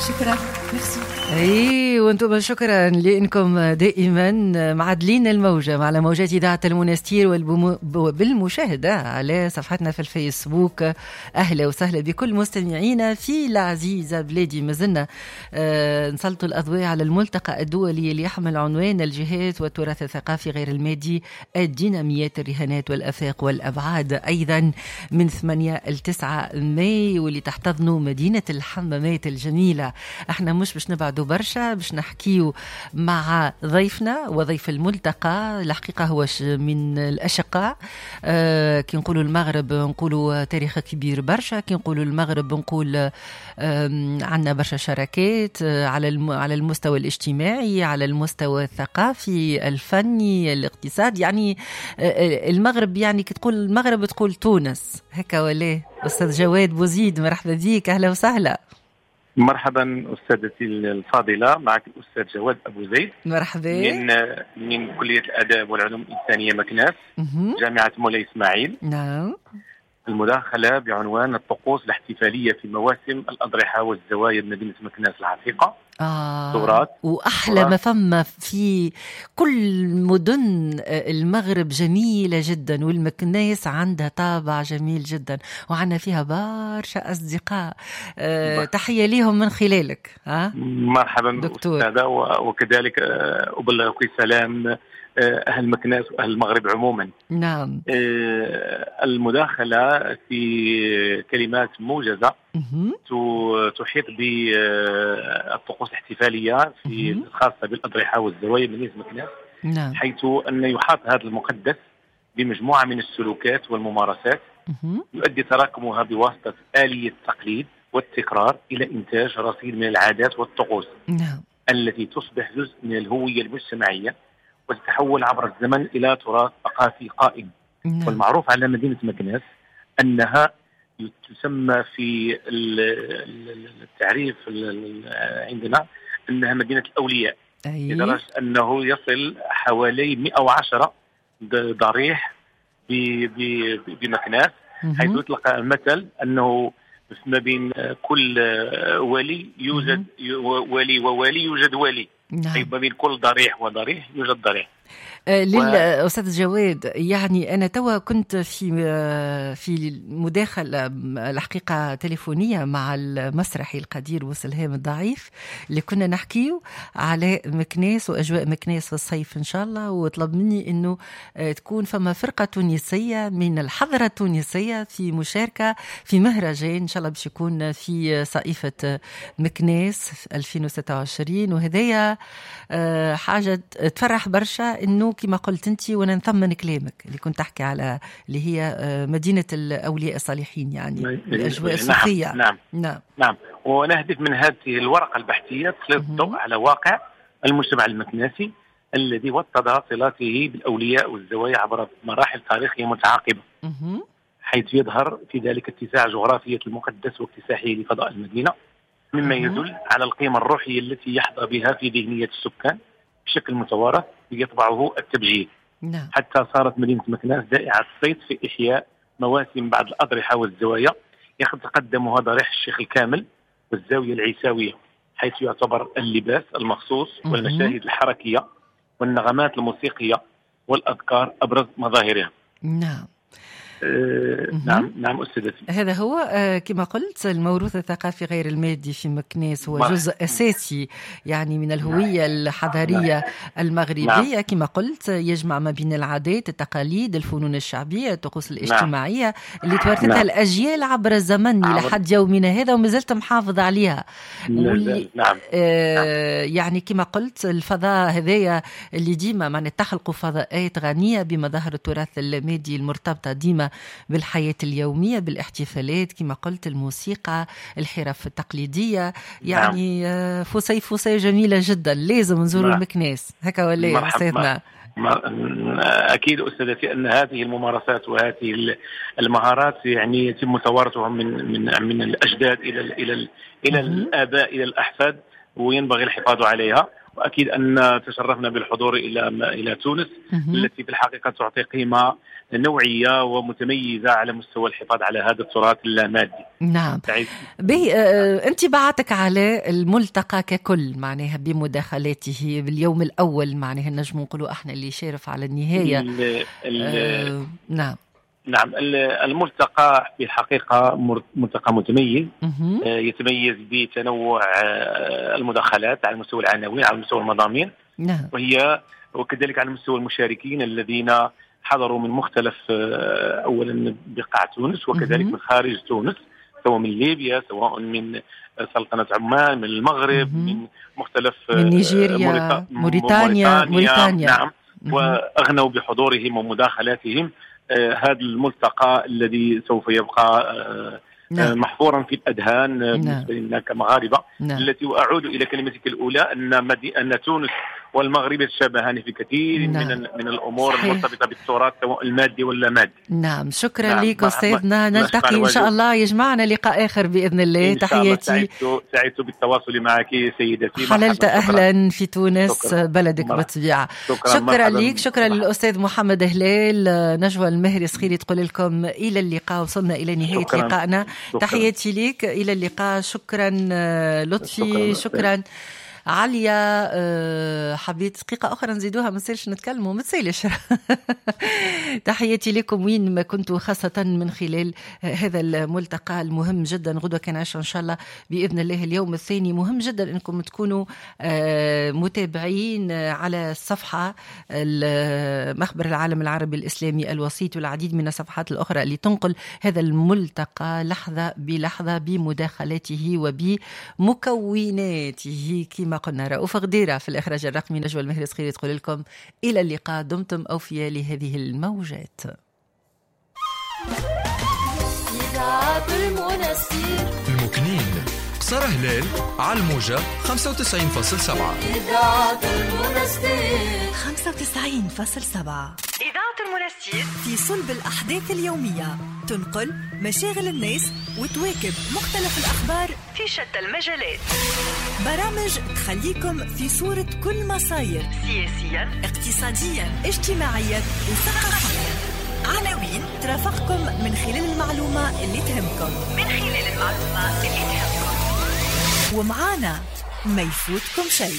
شكرا، ميرسي. اي، وانتم شكرا لانكم دائما معدلين الموجه على موجات اذاعة المنستير وبالمشاهده على صفحتنا في الفيسبوك. اهلا وسهلا بكل مستمعينا في العزيزة بلادي. مازلنا نسلط الاضواء على الملتقى الدولي اللي يحمل عنوان الجهات والتراث الثقافي غير المادي، الديناميات، الرهانات والافاق والابعاد، ايضا من 8 ل 9 ماي، واللي تحتضنه مدينة الحمامات الجميله. احنا مش باش نبعدوا برشا، باش نحكيو مع ضيفنا وضيف الملتقى. الحقيقة هو من الأشقاء. كي نقولوا المغرب نقولوا تاريخ كبير برشا، كي نقولوا المغرب نقول عندنا برشا شراكات على المستوى الاجتماعي، على المستوى الثقافي، الفني، الاقتصادي. يعني المغرب، يعني كي تقول المغرب تقول تونس، هكا ولا؟ أستاذ جواد بوزيد، مرحبا بك، أهلا وسهلا. مرحبا استاذتي الفاضله، معك الاستاذ جواد ابو زيد. مرحبا. من كليه الاداب والعلوم الانسانية مكناس، جامعه مولاي اسماعيل. المداخلة بعنوان الطقوس الاحتفالية في مواسم الاضرحة والزوايا بمدينة مكناس العتيقه. تراث. وأحلى ما فما في كل مدن المغرب جميلة جدا، والمكناس عندها طابع جميل جدا، وعندنا فيها برشا أصدقاء. تحية ليهم من خلالك. ها؟ مرحبا دكتور. أستاذة، وكذلك أبلغك سلام أهل مكناس وأهل المغرب عموما. المداخلة في كلمات موجزة تحيط بالطقوس الاحتفالية في الخاصة بالأضرحة والزوايا بمدينة مكناس. حيث أن يحاط هذا المقدس بمجموعة من السلوكات والممارسات يؤدي تراكمها بواسطة آلية التقليد والتكرار إلى إنتاج رصيد من العادات والطقوس التي تصبح جزء من الهوية المجتمعية وتتحول عبر الزمن إلى تراث ثقافي قائم. والمعروف على مدينة مكناس أنها تسمى في التعريف عندنا أنها مدينة الأولياء. لدرجة أنه يصل حوالي 110 ضريح بمكناس، حيث يطلق المثل أنه ما بين كل ولي يوجد ولي وولي يوجد ولي. أي ما بين كل ضريح وضريح يوجد ضريح. للأستاذ جواد، يعني أنا توا كنت في مداخلة الحقيقة تليفونية مع المسرحي القدير وسلهام الضعيف، اللي كنا نحكيو على مكناس وأجواء مكناس في الصيف إن شاء الله، وطلب مني إنه تكون فما فرقة تونسية من الحضرة التونسية في مشاركة في مهرجان إن شاء الله باش يكون في صائفة مكناس 2026. وهذايا حاجة تفرح برشا، إنه كما قلت أنت، وأنا نثمن كلامك اللي كنت تحكي على اللي هي مدينة الأولياء الصالحين، يعني الأجواء الصوفية. نعم. ونهدف من هذه الورقة البحثية تسليط الضوء على واقع المجتمع المكناسي الذي وطد صلاته بالأولياء والزوايا عبر مراحل تاريخية متعاقبة، حيث يظهر في ذلك اتساع جغرافية المقدس واكتساحه لفضاء المدينة، مما يدل على القيمة الروحية التي يحظى بها في ذهنية السكان بشكل متوارث يطبعه التبجيل. حتى صارت مدينة مكناس ذائعة الصيت في إحياء مواسم بعض الأضرحة والزوايا يتقدمها ضريح الشيخ الكامل والزاوية العيساوية، حيث يعتبر اللباس المخصوص والمشاهد الحركية والنغمات الموسيقية والأذكار أبرز مظاهرها. نعم أستاذتي. هذا هو كما قلت الموروث الثقافي غير المادي في مكناس هو جزء أساسي يعني من الهوية الحضارية المغربية. كما قلت يجمع ما بين العادات، التقاليد، الفنون الشعبية، الطقوس الاجتماعية اللي توارثتها الأجيال عبر الزمن إلى حد يومنا هذا وما زلت محافظ عليها. يعني كما قلت الفضاء هذايا اللي ديما تخلقوا فضاءات غنية بمظاهر التراث المادي المرتبطة ديما بالحياة اليومية، بالاحتفالات كما قلت، الموسيقى، الحرف التقليدية. فسيفساء جميلة جدا، لازم نزوروا المكناس هكا ولا يا أستاذنا؟ أكيد أستاذتي أن هذه الممارسات وهذه المهارات يتم توارثها من الأجداد إلى الآباء إلى الأحفاد، وينبغي الحفاظ عليها. واكيد ان تشرفنا بالحضور الى تونس التي في الحقيقة تعطي قيمة نوعية ومتميزه على مستوى الحفاظ على هذا التراث اللامادي. نعم. به انطباعاتك على الملتقى ككل، معناها بمداخلاته باليوم الاول، معناها نجم نقولوا احنا اللي شارف على النهاية. نعم. نعم، الملتقى في الحقيقة ملتقى متميز، يتميز بتنوع المداخلات على مستوى العناوين، على مستوى المضامين. نعم. وكذلك على مستوى المشاركين الذين حضروا من مختلف أولا بقاع تونس وكذلك من خارج تونس، سواء من ليبيا، سواء من سلطنة عمان، من المغرب، من مختلف، من نيجيريا، موريتانيا. نعم. وأغنوا بحضورهم ومداخلاتهم هذا الملتقى الذي سوف يبقى نعم. محفورا في الأذهان بالنسبة لنا كمغاربة. نعم. التي وأعود إلى كلمتك الأولى أن تونس والمغرب يتشابهان في كثير نعم. من الأمور صحيح. المرتبطة بالتراث سواء المادي ولا مادي. نعم، شكرا نعم. لك أستاذنا، نلتقي إن شاء الله، يجمعنا لقاء آخر بإذن الله. تحياتي، سعدت بالتواصل معك سيدتي. حللت أهلا في تونس. شكرا. بلدك بالطبيعة. شكرا لك، شكرا للأستاذ محمد هلال. نجوى المهري صخيري تقول لكم إلى اللقاء، وصلنا إلى نهاية شكرا. لقائنا. شكرا. تحياتي لك، إلى اللقاء. شكرا لطفي، شكرا عليا. حبيت دقيقة أخرى نزيدوها، ما نصيرش نتكلموا، ما تسيلش. تحياتي لكم وين ما كنتوا، خاصة من خلال هذا الملتقى المهم جدا. غدوة كان 10 إن شاء الله بإذن الله اليوم الثاني. مهم جدا أنكم تكونوا متابعين على الصفحة مخبر العالم العربي الإسلامي الوسيط والعديد من الصفحات الأخرى اللي تنقل هذا الملتقى لحظة بلحظة بمداخلاته وبمكوناته. كما قلنا رؤوف غديرة في الإخراج الرقمي، نجوى المهري صخيري تقول لكم إلى اللقاء، دمتم أوفياء لهذه الموجات. المكنين قصر هلال على الموجة 95.7. إذاعة المنستير 95.7. إذاعة المنستير في صلب الأحداث اليومية، تنقل مشاغل الناس وتواكب مختلف الأخبار في شتى المجالات. برامج تخليكم في صورة كل ما صاير سياسيا، اقتصاديا، اجتماعيا وثقافيا. عناوين ترافقكم من خلال المعلومة اللي تهمكم، ومعانا ما يفوتكم شيء.